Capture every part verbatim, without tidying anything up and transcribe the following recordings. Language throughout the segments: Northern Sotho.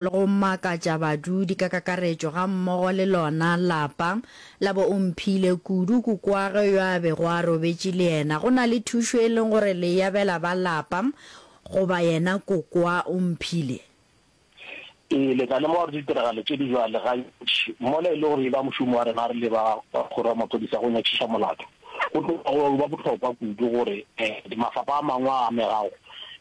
Go makatša badudi ka kakaretšo gammogo le lona lapa la bo Omphile, kudu kokoagwe yo a bego a robetše le yena. Go na le thušo e leng gore le e abela ba lapa goba yena kokoa Omphile? Ee, le tla lemoga gore ditiragalo tše di bjale gantši mola e le gore e ba mošomo wa rena re le ba kgoro ya maphodisa go nyakišiša molato. Go tloga go ba bohlokwa kudu gore mafapha a mangwe a amegago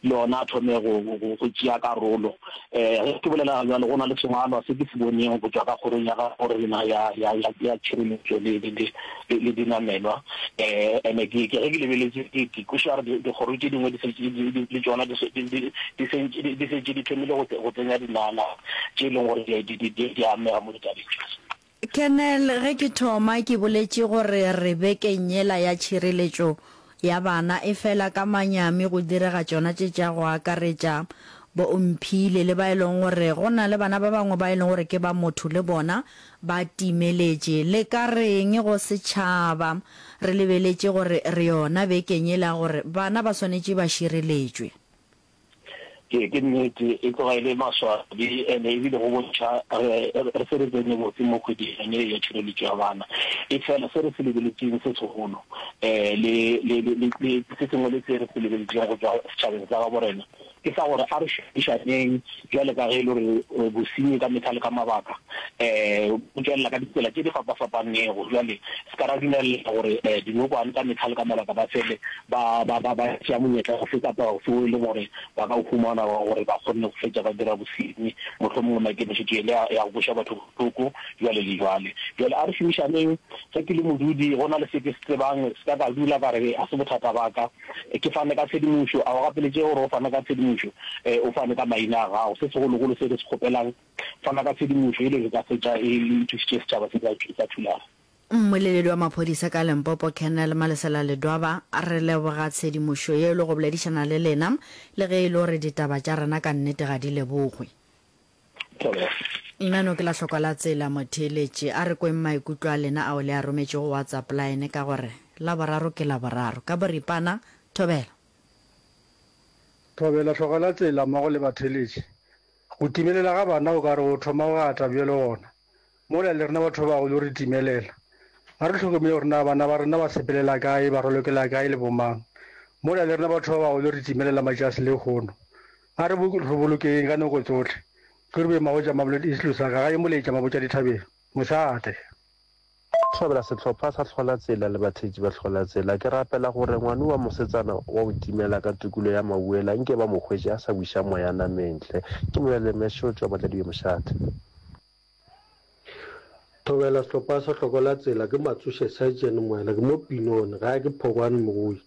le ona a thome go go tšea karolo. Ge ke bolela bjalo, go na le sengwalwa se ke se boneng go tšwa ka kgorong ya gabo rena ya ya ya ya tšhireletšo le le le le dinamelwa. Ene ke ke ge ke lebeletše ke ke kwešiša gore dikgoro tše dingwe di šetše di le tšona di di di sentše di šetše di thomile go go tsenya dinala tše e leng gore di di di amega mo ditabeng tše. Colonel, ge ke thoma ke boletše gore re bekeng yela ya tšhireletšo ya bana, efela ka manyami go direga tšona tše tša go akaretša bo Omphile le ba e leng gore go na le bana ba bangwe ba e leng gore ke ba motho le bona ba timeletše. Le ka reng go setšhaba re lebeletše gore re yona bekeng yela gore bana ba swanetše ba šireletšwe? Ee, ke nnete, e tloga e le maswabi ene ebile go bontšha re re se re tsene botse mo kgweding yone ye ya tšhireletšo ya bana. Efela se re se lebeletšeng se segolo um le le le le se sengwe le se re se lebeletšeng go tšwa setšhabeng sa gabo rena ke sa gore a re šomišaneng bjale ka ge e le gore bosenyi ka mehla le ka mabaka um bo tšwelela ka ditsela tše di fapafapanego. Bjale se ka ra dumelela gore dinokwane ka mehla le ka mabaka ba fele ba, ba, ba, ba tšea monyetla ofe kapa ofe wo e leng gore ba ka o humana wa gore ba kgonne go fetša ba dira bosenyi, mohlomongwe maikemišetšo e le ya, ya go kweša batho bohloko, bjale le bjale. Bjale a re šomišaneng. Ge ke le modudi, go na le se ke se tsebang, se ka ka dula ka re ga se bothata ba ka. Ke fane ka tshedimošo. A o gapeletšege gore o fane ka tshedimošo, o fane ka maina a gago. Se segologolo se re se kgopelang, fana ka tshedimošo e le re ka fetša e thušitše setšhaba se sa Thulare. Mmoleledi wa maphodisa ka Limpopo Colonel Malesela Ledwaba, Re leboga tshedimošo ye le go boledišana le lena, le ge e le gore ditaba tša rena ka nnete ga di lebogwe. Thobela. Nna no ke la hlokwa la tsela motheeletši, a re kweng maikutlo a lena ao le a rometšego WhatsApp line ka gore Laboraro ke Laboraro. Ka boripana, Thobela. Thobela, Hloka la tsela mmogo le batheeletši. Go timelela ga bana o ka re go thoma go ata bjalo gona. Mola le rena batho ba bagolo re timelela. Ga re hlokomele gore na bana ba rena ba sepelela kae, ba rolokela kae le bomang. Mola le rena batho ba bagolo re timelela matšatši lehono. A re re bolokeng ka nako tsohle. Ke re Mabotja Mamelodi East Lusaka, gae Moletša Mabotja Dithabeng. Mošate. Thobela sehlopha sa Hlola Tsela le batheetši ba Hlola Tsela. Ke rapela gore ngwano wa mosetsana wa go timela ka tokelo ya mawela nke ba mo hwetše a sa wiša moya nameng hle. Ke Moyale Mešo tšwa Matladibe Mošate. Thobela sehlopha sa Hlokola Tsela ke Matsoše Sergeant Moela ke mo Pinone gae ke Phokwane Mogoi.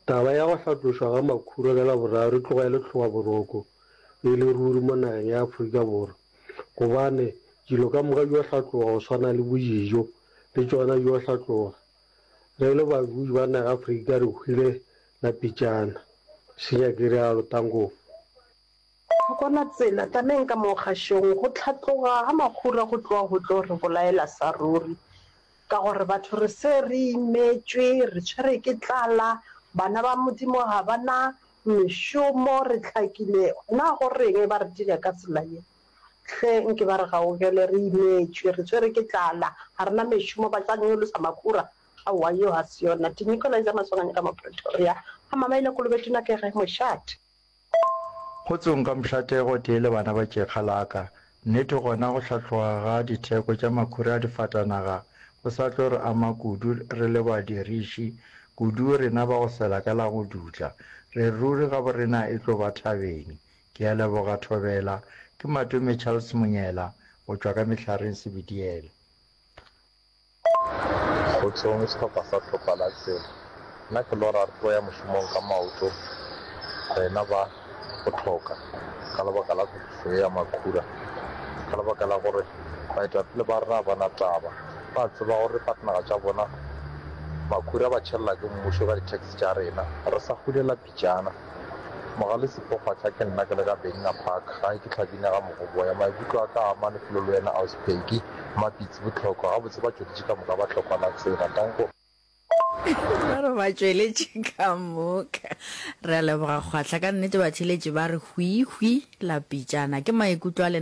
Taba ya go hlatlošwa ga makhura ka Laboraro e tloga e le hlobaboroko e le ruri mo nageng ya Afrika Borwa gobane dilo ka moka di yo hlatloga go swana le bo dijo le tšona di yo hlatloga. Re le badudi ba naga Afrika re hwile la pitšana. Senya ke realo. Tango. Hlokola tsela, tlameng ka mo kgašong, go hlatloga ga makhura go tloga go tlo re bolaela sa ruri, ka gore batho re se re imetšwe, re tshwere ke tlala, bana ba Modimo ga ba na mešomo, re hlakile, na go reng ba re dira ka tsela ye? Hle nke ba re gaugele, re imetšwe, re tshwere ke tlala, ga re na mešomo, ba tla nyolosa makhura? Aowa, yeo ga se yona. Nikolai tsa Maswanganyi ka mo Pretoria, ga Mamaila Kolobetona ke ge mošate. Kgotsong ka mošate gotee le bana ba tšekga la ka. Nnete gona go hlatloga ga ditheko tša makhura a difatanaga go sa tlo re ama kudu re le badiriši, kudu rena ba go sela ka la go dutla. Re ruri gaborena e tlo ba thabeng. Ke a leboga Thobela. Ke Matome Charles Monyela go tšwa ka Mehlareng Sebediela. Kgotsong sehlopha sa hlopha la tsela. Nna ke lora re tlo ya mošomong ka maoto rena ba go hloka ka lebaka la tlhwekišo ye ya makhura. Ka lebaka la gore baetapele ba rena ga ba na taba. Ba tseba gore dipatnaga tša bona makhura ba tšhelela ke mmušo ka di-tax tša rena. Re sa hulela pitšana. Mogale Sipho Kgwahla ke nna ke le ka Benga Park gae ke Hlabina ga Mogoboya. Maikutlo a ka a ama lefelo le wena Ausi Peggy. Mapitsi Bohlokwa. Gabotse ba tšweletše ka moka ba hlokwa la tsela. Danko. Ba re ba tšweletše ka moka. Re a leboga Kgwahla, ka nnete batheeletši ba re hwi hwi la pitšana. Ke maikutlo a lena.